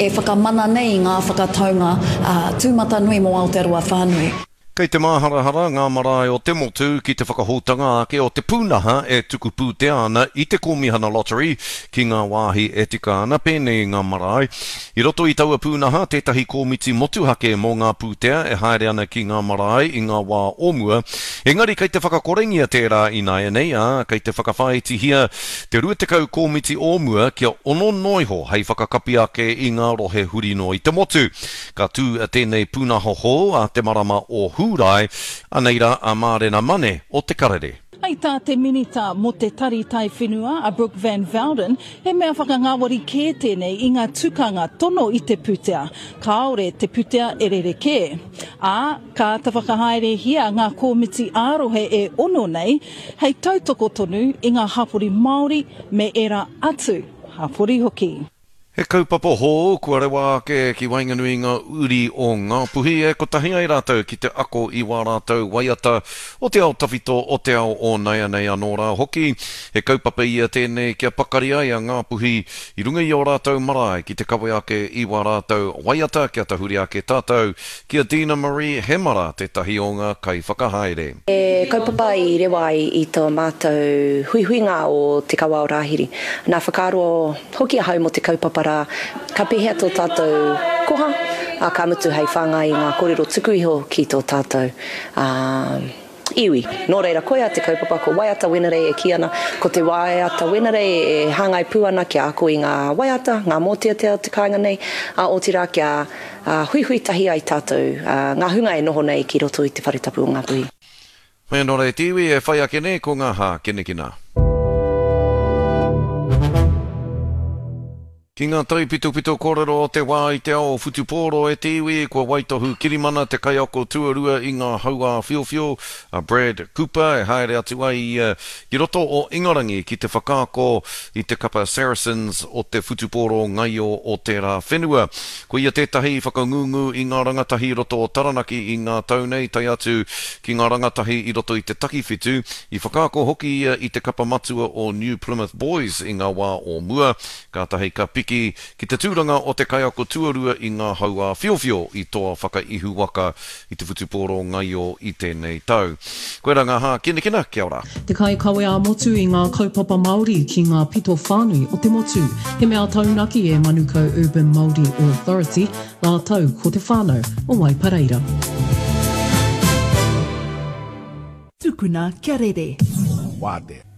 e whakamana nei i ngā whakataunga tūmatanui mō Aotearoa whānui. Kei te māharahara ngā marae o te motu ki te whakahoutanga ake o te pūnaha e tuku pūtea ana i te Kōmihana Lottery ki ngā wāhi e tika ana, pēnei i ngā marae. I roto i taua pūnaha tētahi kōmiti motuhake mō ngā pūtea e haere ana ki ngā marae i ngā wā o mua, engari kei te whakakorengia tērā ināianei, ā, kei te whakawhāitihia te 20 kōmiti o mua kia ono noa iho hei whakakapi ake i ngā rohe huri noa i te motu. Ka tū tēnei pūnaha hou ā te marama o Hūrae, anei rā a Mārena Mane o Te Karere. Hei tā te Minita mō te Tari Taiwhenua a Brooke Van Velden, he mea whakangāwari kē tēnei i ngā tukanga tono i te pūtea, kāore te putea e rerekē. Ā, ka āta whakahaerehia ngā kōmiti ā-rohe e ono nei hei tautoko tonu i ngā hapori Māori me ērā atu hapori hoki. He kaupapa hou kua rewa ake ki waenganui i ngā uri o Ngāpuhi e kotahi ai rātou ki te ako i wā rātou waiata o te ao tawhito, o te ao o naianei anō rā hoki. He kaupapa ia tēnei kia pakari ai a Ngāpuhi i runga i ō rātou marae ki te kawe ake i wā rātou waiata kia tahuri ake tātou ki a Dina Marie Hemara tētahi o ngā kaiwhakahaere. He kaupapa i rewa ai i tō mātou huihuinga o Te Kawa o Rāhiri. Nā whakaaro hoki ahau mō te kaupapa rā, ka pēhea tō tātou koha, ā, ka mutu hei whāngai i ngā kōrero tuku iho ki tō tātou iwi. Nō reira, koia te kaupapa, ko Waiata Wenerei e kī ana, ko te Waiata Wenerei e hāngai pū ana kia ako i ngā waiata, ngā mōteatea o te kāinga nei, ā, otirā kia huihui tahi ai tātou, ngā hunga e noho nei ki roto i te whare tapu o Ngāpuhi. Hoi anō rā e te iwi e whai ake nei ko ngā hākinakina. Ki ngā taipitopito kōrero o te wā i te ao whutupōro e te iwi, kua waitohu kirimana te kaiako tuarua i ngā hauāwhiowhio, a Brad Cooper, e haere atu ai ia ki roto o Ingarangi ki te whakaako i te kapa Saracens o te whutupōro ngaio o tērā whenua. Ko ia tētahi i whakangungu i ngā rangatahi i roto o Taranaki i ngā tau nei, tae atu ki ngā rangatahi i roto i te takiwhitu. I whakaako hoki ia i te kapa matua o New Plymouth Boys i ngā wā o mua, kātahi ka piki ki te tūranga o te kaiako tuarua i ngā hauāwhiowhio i toa whakaihuwaka i te whutupōro ngaio i tēnei tau. Koirā ngā hākinakina, kia ora. Te kaikawe ā-motu i ngā kaupapa Māori ki ngā pito whānui o te motu. He mea taunaki e Manukau Urban Māori Authority rātou ko te whānau o Waipareira. Tukuna kia rere. Wātea.